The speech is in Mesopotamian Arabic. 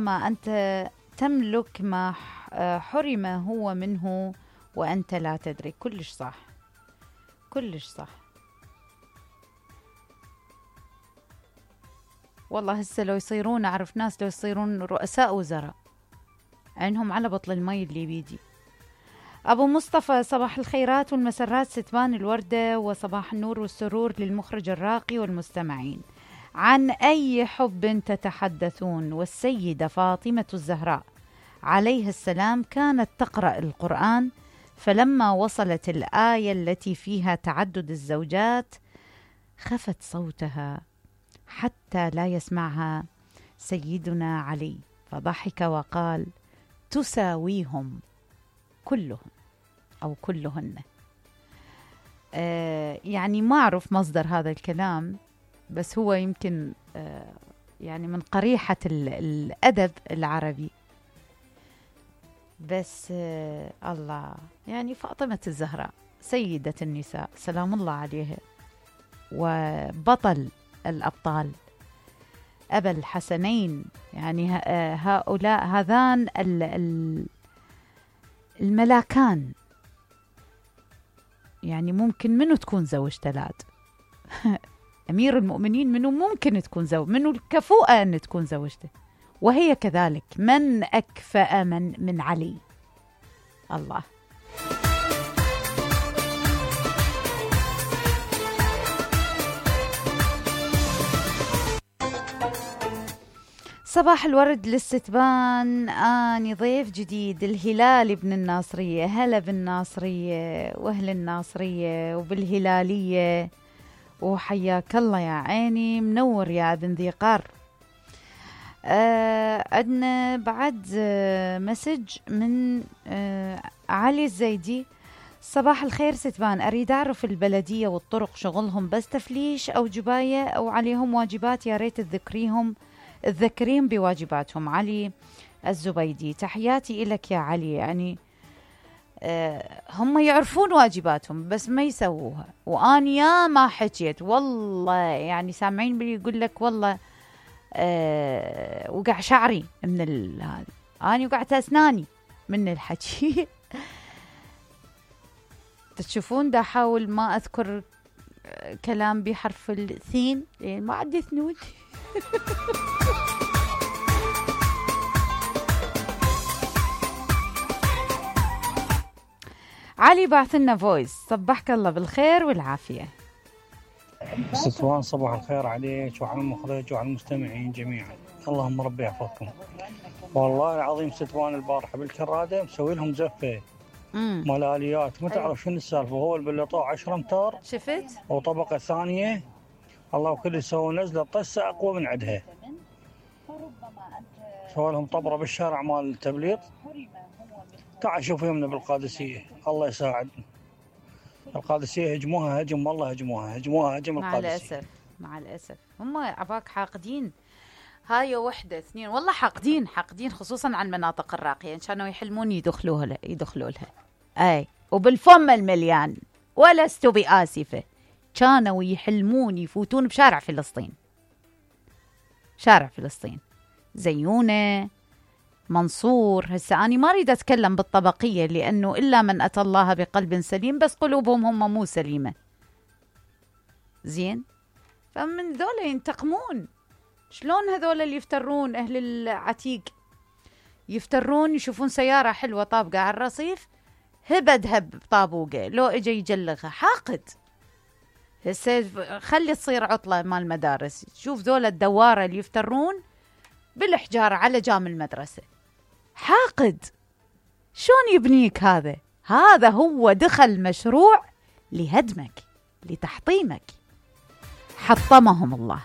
ما أنت تملك ما حرم هو منه وأنت لا تدري. كلش صح، كلش صح. والله هسه لو يصيرون، أعرف ناس لو يصيرون رؤساء وزراء عينهم على بطل المي اللي بيدي. أبو مصطفى، صباح الخيرات والمسرات ستبان الوردة، وصباح النور والسرور للمخرج الراقي والمستمعين. عن أي حب تتحدثون؟ والسيدة فاطمة الزهراء عليها السلام كانت تقرأ القرآن، فلما وصلت الآية التي فيها تعدد الزوجات خفت صوتها حتى لا يسمعها سيدنا علي، فضحك وقال: تساويهم كلهم أو كلهن. يعني ما أعرف مصدر هذا الكلام، بس هو يمكن يعني من قريحة الأدب العربي. بس الله، يعني فاطمة الزهراء سيدة النساء سلام الله عليها، وبطل الأبطال، أبا الحسنين. يعني هؤلاء هذان الملاكان. يعني ممكن منو تكون زوج تلاد أمير المؤمنين، منو ممكن تكون زوج، منو الكفؤة أن تكون زوجته، وهي كذلك. من أكفأ من علي؟ الله. صباح الورد للستبان، آني ضيف جديد الهلال ابن الناصرية. هلا بالناصرية وأهل الناصرية وبالهلالية، وحياك الله يا عيني، منور يا ابن ذي قار. عندنا بعد مسج من علي الزيدي. صباح الخير ستبان، أريد أعرف البلدية والطرق شغلهم بس تفليش أو جباية أو عليهم واجبات؟ يا ريت تذكريهم بواجباتهم. علي الزبيدي، تحياتي إلك يا علي. يعني هم يعرفون واجباتهم بس ما يسووها، وأنا يا ما حكيت والله، يعني سامعين بلي يقول لك والله وقع شعري من هذا، أنا وقعت أسناني من الحكي. تشوفون دا أحاول ما أذكر كلام بحرف الثين لأن ما عندي ثنون. علي بعث لنا فويس. صبحك الله بالخير والعافية ستوان، صباح الخير عليك وعلى المخرج وعلى المستمعين جميعا، اللهم ربي يحفظكم. والله العظيم ستوان البارحة بالكرادة مسوي لهم زفة ملاليات، ما تعرف شنو السالفة. هو البلطوع 10 امتار شفت، وطبقة ثانية الله وكل يسوي نزلة طسة أقوى من عندها. سوى لهم طبرة بالشارع مال التبليط. تعال شوف يمنا بالقادسية، الله يساعد. القادسية هجموها هجم، والله هجموها هجم القادسية. مع الأسف هم عباك حاقدين. هاي وحدة اثنين والله حاقدين خصوصا عن المناطق الراقية، كانوا يحلمون يدخلوا لها. أي وبالفم المليان، ولست بآسفة، كانوا يحلمون يفوتون بشارع فلسطين، زيونة، منصور. هسه أنا ما أريد أتكلم بالطبقية لأنه إلا من أتى الله بقلب سليم، بس قلوبهم هم مو سليمة. زين، فمن ذولا ينتقمون. شلون هذول اللي يفترون أهل العتيق يفترون، يشوفون سيارة حلوة طابقة على الرصيف، هب بطابوقة، لو إجا يجلغها حاقد. هسه خلي تصير عطلة مال المدارس، شوف ذولا الدوارة اللي يفترون بالحجارة على جام المدرسة، حاقد. شلون يبنيك هذا هو دخل مشروع لهدمك لتحطيمك، حطمهم الله.